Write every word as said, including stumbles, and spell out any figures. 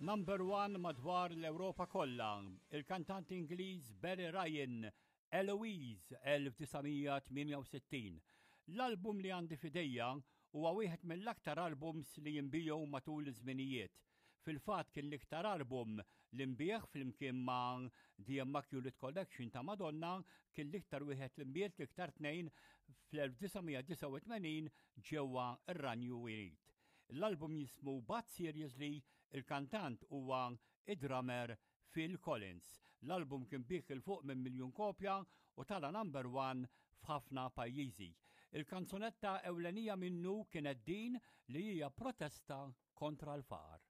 Number one madwar l-Ewropa kollha, il-kantant Ingliż Barry Ryan, Eloise elf disa' mija tmienja u sittin. L-album li għandi f'idejja huwa wieħed mill-aktar albums li jinbiegħu matul iż-żminijiet. Fil-fatt kien l-iktar album li nbiegħ flimkien ma' The Immaculate Collection ta' Madonna, kien l-iktar wieħed li nbiegħ, l-iktar tnejn fl-elf disa' mija disgħa u tmenin ġewwa ir-Renju Unit. L-album jismu But Seriously, il-kantant huwa id-drummer Phil Collins. L-album kien biegħ 'il fuq minn miljun kopja u tala' number one f'ħafna pajjiżi. Il-kanzunetta ewlenija minnu kienet din li hija protesta kontra l-faqar.